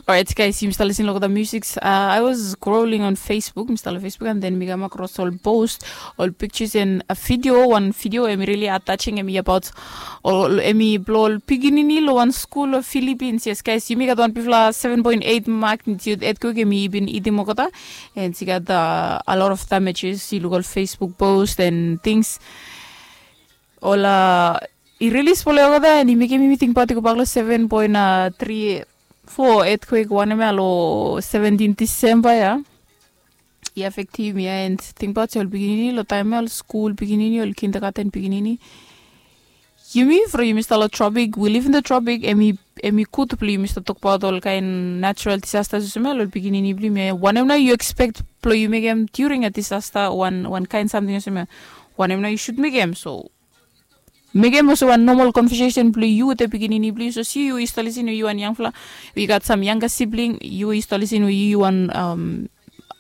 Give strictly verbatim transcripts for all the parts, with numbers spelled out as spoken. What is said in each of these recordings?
Alright, guys, yumi stap lisin long olgeta music. Uh, I was scrolling on Facebook, mi stap long Facebook, and then mi kam across ol post, ol pictures and a video, wan video, hemi really heart touching, hemi about ol, hemi blong ol pikinini long wan skul long Philippines. Yes, guys, yumi gat wan bigfala seven point eight magnitude earthquake, hemi bin hitim olgeta. And i gat, uh, a lot of damages. Yu luk ol Facebook post and things. Ol, uh, i really spolem olgeta, and i mekem yumi tingbaot i gobak long seven point three four earthquake wanem ya long seventeen December ya. I affectim yumi ya, and tingbaot se ol pikinini long taem ya, ol skul pikinini, ol kindergarten pikinini. Yumi from yumi stap long tropic, we live in the tropic, hemi, hemi gud blong yumi stap tokbaot ol kaen natural disasters olsem ya long ol pikinini blong yumi ya. Wanem nao yu expect blong yu mekem during a disaster, wan, wan kaen samting olsem ya? Wanem nao yu should mekem? So mekem olsem wan normal conversation blong yu wetem pikinini blong yu. So si yu, yu stap lisin we yu wan yangfala, we yu gat sam younger sibling, yu, yu stap lisin we yu, yu wan, um,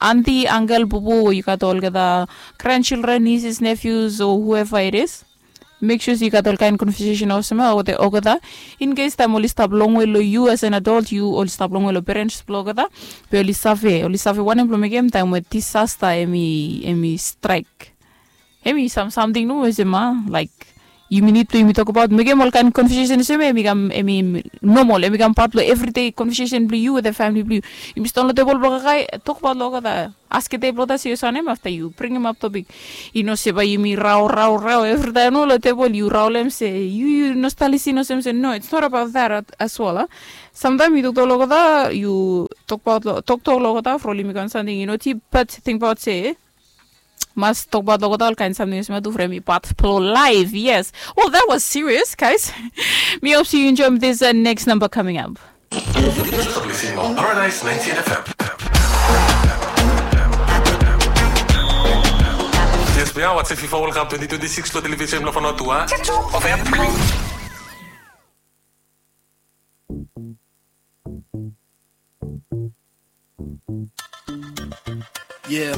aunty, uncle, bubu, we yu gat olgeta grandchildren, nieces, nephews, or whoever it is. Mek sua se yu gat ol kaen conversation olsem ya wetem olgeta. In case taem oli stap longwe long yu as an adult, yu oli stap longwe long parents blong olgeta, be oli save, oli save wanem blong mekem taem we disaster hemi, hemi strike. Hemi sam, samting nomo olsem ya, like, yumi nid blong yumi tokbaot, mekem ol kaen conversation olsem ya, hemi kam, hemi normal, hemi kam pat blong everyday conversation blong yu wetem famili blong yu. Yumi sidaon long tebol blong kakae, tokbaot long olgeta. Askem olgeta se yu sanem, afta yu bringim ap topik. I no se bae yumi rao, rao, rao evritaem nomo long tebol, yu raolem se yu, yu no stap lisin olsem se, no, it's not about that at, as well, a. Samtaem yu toktok long olgeta, yu tokbaot long, toktok long olgeta from oli mekem wan samting i no dip, bat tingbaot se mas tokbaot long olgeta ol kaen samting olsem ya tu from hemi pat blong laef. Yes. Well, that was serious, guys. Mi hop se yu enjoem this, uh, next number coming up. Yu stap lisin long Paradise ninety-eight F M. Yes, we are watching FIFA World Cup twenty twenty-six long television blong Vanuatu. Yeah.